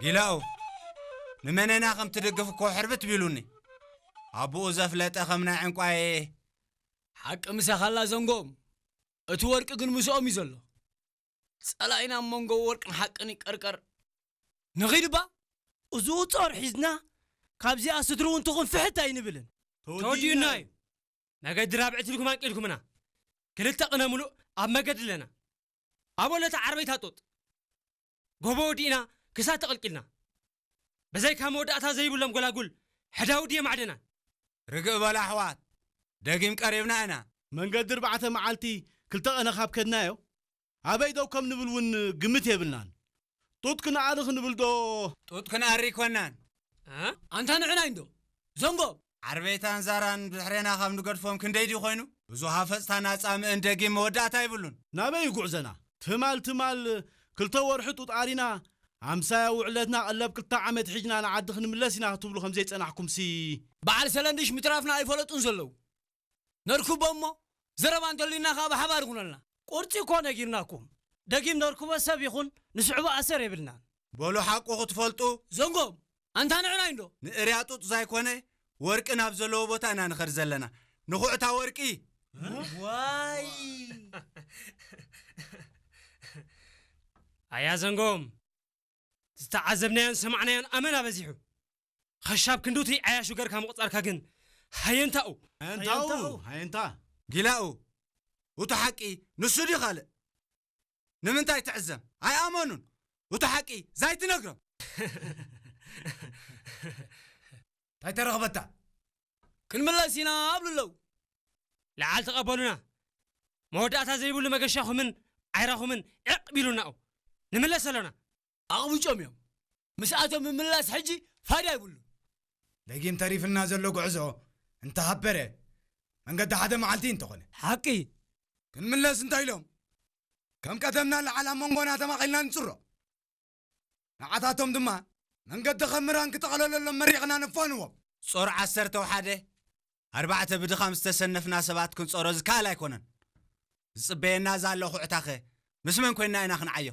ጊላኡ፣ ንመነና ከም ትድግፍ እኮ ሕርብት ቢሉኒ። ኣቦኡ ዘፍለጠ ከም ናይ ዕንቋየ። ሓቂ ምሳኻላ ዘንጎም። እቲ ወርቂ ግን ምስኦም እዩ ዘሎ። ጸላኢና ኣብ መንጎ ወርቅን ሓቅን ይቀርቀር። ንኺድባ? እዚ ጾር ሒዝና ካብዚኣ ስድሪ እውን ትኹን ፍሕት ኣይንብልን። ተወዲኡና እዩ። መገዲ ራብዕቲ ኢልኩም ኣንቂልኩምና። ክልተ ቅነ ሙሉእ ኣብ መገዲ ኣለና። ኣብ ወለታ ዓርበይታ ጡጥ። ጎቦ ወዲእና ክሳብ ተቐልቂልና። በዘይካ መወዳእታ ዘይብሎም ጎላጉል ሕዳውዲ የማዕደና። ርግእ በሉ ኣሕዋት፣ ደጊም ቀሪብና ኢና። መንገዲ ኣርባዕተ መዓልቲ ክልተ ቀነ ካብ ከድናዮ፣ ኣበይ ደው ከም ንብል እውን ግምት የብልናን። ጡጥ ክንኣሪ ክንብል ዶ? ጡጥ ክንኣሪ ኣይኮናን። እ? ኣንታ ንዕና እንዶ? ዘንጎ! ዓርበይታን ዛራን ብድሕሬና ካብ ንገድፎም ክንደይ ድዩ ኮይኑ? ብዙ ሃፈጽታን ኣጻምእን ደጊም መወዳእታ ይብሉን። ናበይ እዩ ጉዕዘና? ትማል ትማል ክልተ ወርሒ ጡጥ ኣሪና፣ ኣምሳያ ውዕለትና ቀለብ ክልተ ዓመት ሒዝና ንዓዲ ክንምለስ ኢና ክትብሉ ከም ዘይጸናሕኩምሲ። በዓል ሰለንድሽ ምትራፍና ኣይፈለጡን ዘለዉ። ነርክቦ እሞ፣ ዘረባ እንተልዩና ከኣ ብሓባር ይኹነልና። ቁርጺ እኮ ነጊርናኩም። ደጊም ነርክቦ ሰብ ይኹን ንስዕቦ ኣሰር የብልናን። በሉ ሓቁ ክትፈልጡ። ዘንጎም፣ ኣንታ ንዕናይ እንዶ? ንእርያ ጡጥ ዘይኮነ፣ ወርቂ ናብ ዘለዎ ቦታ ኢና ንኸድ ዘለና። ንኹዕታ ወርቂ። ዋይ! ኣያ ዘንጎም፣ ዝተዓዘብናዮን ሰማዕናዮን ኣመና በዚሑ። ኸሻብ ክንዱቲ ዓያሹ ገርካ ምቑጻርካ ግን ሃየንታኡ። ሃየንታኡ፣ ሃየንታኡ። ሃየንታ። ጊላኡ፣ እቱ ሓቂ ንሱ ድዩ ካልእ? ንምንታይ ትዕዘም? ኣይኣመኑን። እቱ ሓቂ ዛይትነግሮም። እንታይ ተረኽበታ? ክንምለስ ኢና ኣብሉ ኣለዉ። ለዓል ተቐበሉና። መወዳእታ ዘይብሉ መገሻኹምን ዓይራኹምን ዕቕ ቢሉናኡ። ንምለስ ኣሎና። ኣቕብጮም እዮም። ምስኣቶም ምምላስ ሕጂ ፋይዳ ይብሉ። ደጊም ተሪፍና ዘሎ ጉዕዞ እንተሃበረ መንገዲ ሓደ መዓልቲ እንተኾነ። ሓቂ። ክንምለስ እንታይ ኢሎም? ከም ቀደምና ለዓል ኣብ መንጎና ተማቒልና ንጽሮ። ንዓታቶም ድማ መንገዲ ከም ምራን ክጠቕለለሎም መሪቕና ንፋንዎም። ጾር ዓሰርተ ሓደ፣ ኣርባዕተ ብድኻም ዝተሰነፍና ሰባት ክንጾሮ ዝከኣል ኣይኮነን። ዝጽበየና ዘሎ ኹዕታኸ ምስ መን ኮይንና ኢና ክንዓዮ?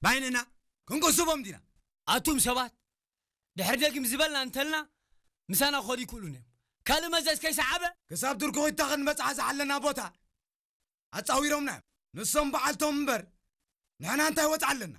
ባይንና? ክንቅስቦም ዲና? ኣቱም ሰባት፣ ድሕሪ ደጊም ዝበልና እንተልና፣ ምሳና ክኸዱ ይክእሉን እዮም። ካልእ መዘዝ ከይሰዓበ? ክሳብ ድርኩኺታ ክንበጽሓ ዝሓለና ቦታ ኣጻዊሮምና እዮም። ንሶም በዓልቶም እምበር፣ ንሕና እንታይ ወጽዓ ኣለና?